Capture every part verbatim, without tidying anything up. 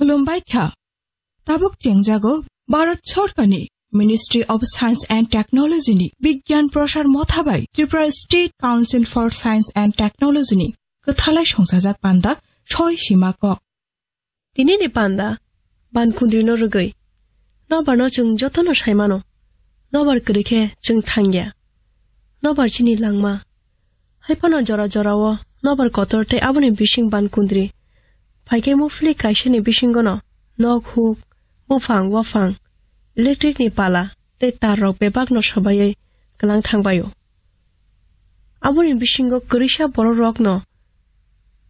Khulumbai kha. Tabuk chengjago Bharat Sorkarni Ministry of Science and Technology ni Bigyan Prasar Motha bai Tripura State Council for Science and Technology ni kwthalai songsajak panda soi sima kok. Tini ni panda, Bankundri no rwgwi. Nobar no chwng jotono sai mano. Nobar kwrwi khe chwng thangya. Nobar chini langma. Hai phano jora jora o nobar kotor tei aboni bising Bankundri. Phai khe muphli kaisa ni bisingo no nok huk, buphang waphang, electric ni pala tei tar rok bebak no sobaiwi kwlang thang bai o. Aboni bisingo kwrwisa borok rok no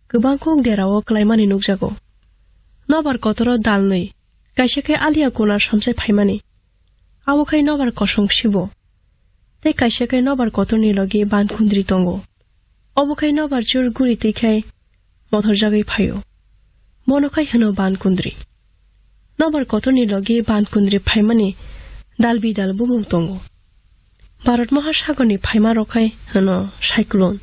kwbang kok dera o kwlaimani nukjago. Nobar kotoro dalnwi, kaisa khe alia kuna somsai phaimani. Abo khai nobar kosong sibo. Tei kaisa khai nobar kotorni logi Bankundri tongo. Obo khai nobar chur guri twi khai mothorjagwi phaio. Bono khai hwno Bankundri. Nobar kotorni logi Bankundri phaimani dal bidal bumung tongo. Bharat Mahasagorni phaima rok khai hwno cyclone.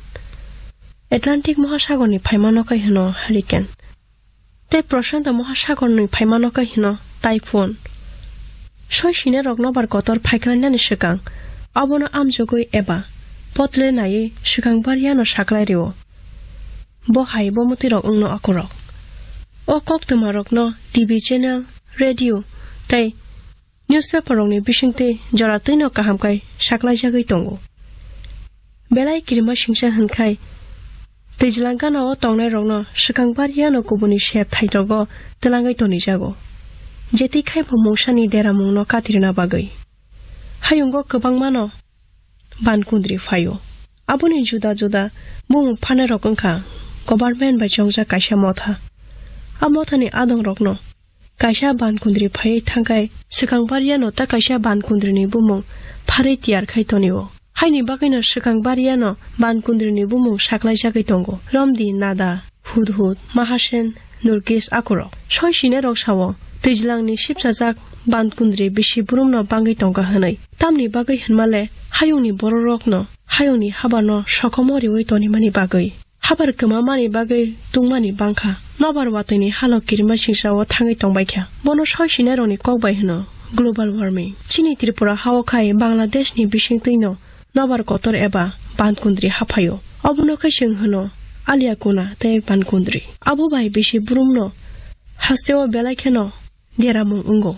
Atlantic Mahasagorni phaima no khai hwno hurricane. Tei Prashanto Mahasagorni phaimano khe hino typhoon. Soi sine rok nobar kotor phaiklainani swkang abono amjogwi eba potle naiwi swkang bariano saklai rio. Bo hai bo mwtwi rok wngno akorok. O koktwma rokno T V channel, radio tei newspaper rokni bisingtwi jora twino kaham khe saklaijagwi tongo. Belai kirima singsa hwnkhai twijlang gana o tongnai rokno swkang bariano kubuni sep thai rogo twlangwi tonijago. Jetwi khai bo mungsani deramungno katirna bagwi. Hayungo kwbangmano Bankundri phaio. Aboni juda juda bumung phanai rok wngkha government bai chongjak kaisa motha. A mothani adong rokno kaisa Bankundri phaiwi thangkhai swkang bariano ta kaisa Bankundri ni bumung pharwi tiyar khai tonio. Haini bagwino swkang bariano Bankundri ni bumung saklaijagwi tongo. Romdi, Nada, Hudhud, Mahasen, Nurgis akorok. Soi sine rok sao, twijlang ni sipsajak Bankundri bisi burumno bangwi tongkha hwnwi. Tamni bagwi hwnmale hayungni bororokno hayungni habarno sokomo riwi tonimani bagwi. Habar kwmamani bagwi tungmani bangkha. Nobar watwini halo kirima singsao thangwi tongbaikha. Bono soi sinairokni kok bai hwno global warming. Chini Tripura hao khai Bangladeshni bisingtwino nobar kotor eba Bankundri haphaio. Obono khe chwng hwno Alia Kuna tei Bankundri. Abo bai bisi burumno hasteo belai kheno deramung wngo.